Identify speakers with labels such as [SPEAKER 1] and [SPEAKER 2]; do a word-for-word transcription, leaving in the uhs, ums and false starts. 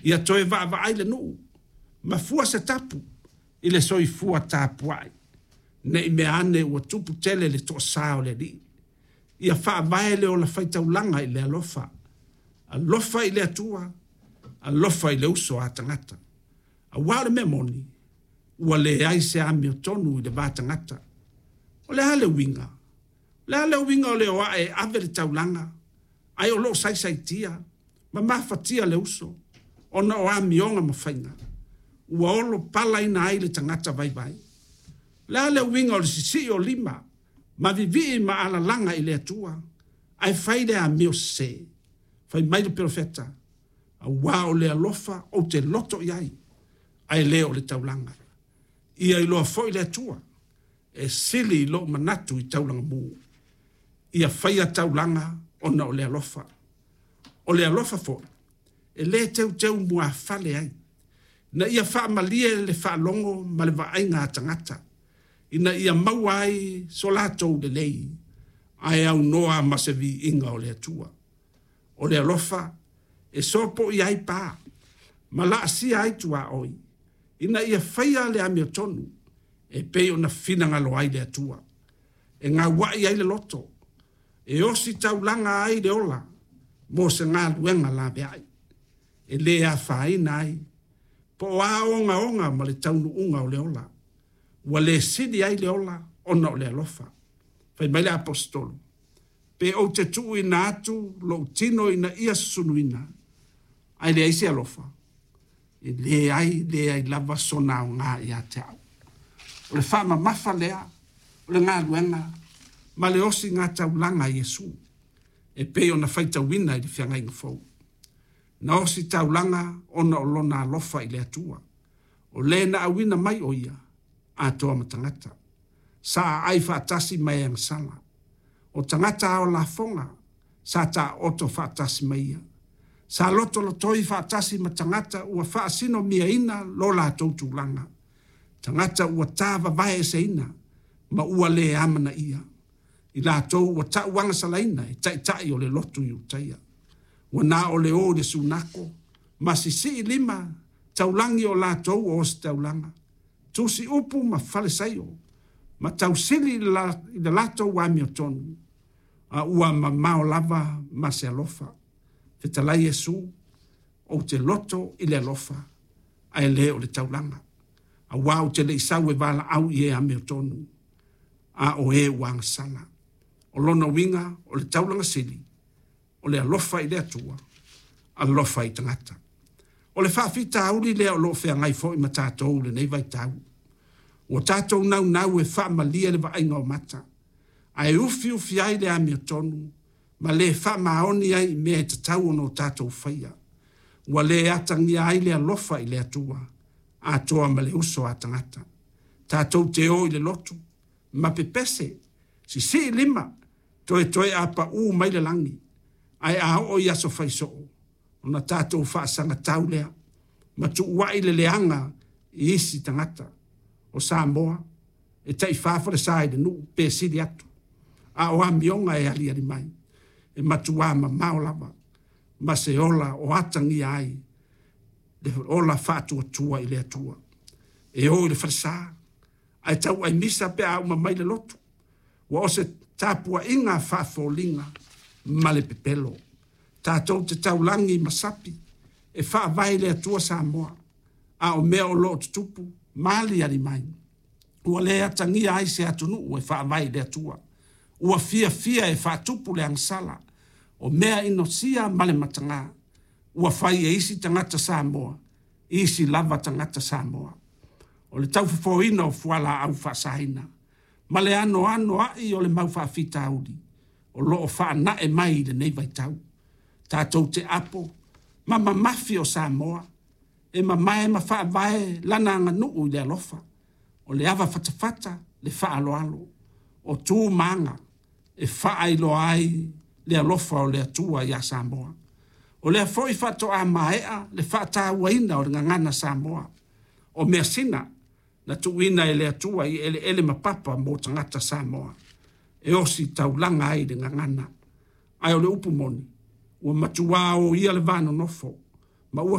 [SPEAKER 1] Ia toe vaavaai le nuu ma fua se tapu i le soifua tapuai, ne i meaane ua tupu tele le toasa o le Alii. Ia faavae le ola faitaulaga i le alofa, alofa i le Atua, alofa i le uso a tagata. Aua o le mea moni, ua leai se amiotonu i le va tagata. O le a le uiga? O le a le uiga o le o ae e ave le taulaga, ae o lo o saisaitia ma mafatia le uso ona o amioga ma faiga ua olopalaina ai le tagata vaivai? O le a le uiga o le sisii o lima ma vivii ma alalaga i le Atua ae fai le amio sese? Fai mai le Perofeta, “Aua o le alofa ou te loto i ai, ae le o le taulaga.” Ia iloa foi le Atua e sili i lou manatu i taulaga mu. Ia faia taulaga ona o le alofa. O le alofa foi e le teuteumuafale ai, ina ia faamalie le faalogo ma le vaaiga a tagata, ina ia maua ai so latou lelei, ae aunoa ma se viiga o le Atua. O le alofa e sopoia ai pa ma laasia ai tuaoi, ina ia faia le amiotonu e pei ona finagalo ai le Atua. E gauai ai le loto, e ositaulaga ai le ola mo se galuega laveai, e le afaina ai po o a ogaoga ma le taunuuga o le ola, ua le sili ai le ola ona o le alofa. Fai mai le Aposetolo, pe ou te tuuina atu lou tino ina ia susunuina, ae leai se alofa, e leai leai lava sona aoga ia te au. O le faamamafa lea o le galuega ma le osiga taulaga a Iesu e pei ona faitauina i le Feagaiga Fou. Na ositaulaga ona o Lona alofa i le Atua, o Le na auina mai o Ia atoa ma tagata. Sa aai faatasi ma e agasala, o tagata ao lafoga sa taooto faatasi ma ia. Sa lotolotoi faatasi ma tagata ua faasinomiaina lo latou tulaga, tagata ua tavavaeseina ma ua le amanaia, i latou ua tauagasalaina e taitai o le lotu Iutaia. Ua na o le o i le sunako ma sisii lima taulagi o latou o ositaulaga, tusiupu ma falesaio, ma tausili i le latou amiotonu, a ua mamao lava ma se alofa. Fetalai Iesu, ou te loto i le alofa, ae le o le taulaga, aua ou te le i sau e valaau i e amiotonu, a o e ua agasala. O lona uiga, o le taulaga sili, o le alofa i le Atua, alofa i tagata. O le faafitauli lea o lo o feagai foi ma tatou i lenei vaitau. Ua tatou naunau e faamalie le vaaiga o mata, ae ufiufi ai le amiotonu ma le faamaoni ai i mea e tatau ona tatou faia. Ua le atagia ai le alofa i le Atua atoa ma le uso a tagata. Tatou te o i le lotu ma pepese, sisii lima, toetoe a pau mai le lagi, ae a oo i aso faisoo, ona tatou faasagatau lea ma tuuai le leaga i isi tagata. O Samoa, e taifa falesa i le nuu pe sili atu, a o amioga e aliali mai, e matua mamao lava ma se ola o atagia ai le ola faatuatua i le Atua. E o i le falesa, ae tauai misa pe a uma mai le lotu. Ua o se tapuaiga faafoliga ma le pepelo. Tatou te taulagi ma sapi e faavae i le Atua Samoa, a o mea o lo o tutupu ma aliali mai, ua le atagia ai se atunuu e faavae i le Atua. Ua fiafia e faatupu le agasala, o mea inosia ma le mataga, ua fai e isi tagata Samoa, isi lava tagata Samoa. O le taufofoina o fualaau faasaina ma le anoanoai o le mau faafitauli o lo o faanae mai i lenei vaitau. Tatou te apo ma mamafi o Samoa e mamae ma faavae lana aganuu i le alofa, o le avafatafata, le faaaloalo, o tu ma aga e faailoa ai le alofa o le Atua ia Samoa. O lea foi faatoa maea le faatauaina o le gagana Samoa, o measina na tuuina e le Atua i eleele ma papa mo tagata Samoa, e ositaulaga ai i le gagana. Ae o le upu moni, ua matua oia le va nonofo ma ua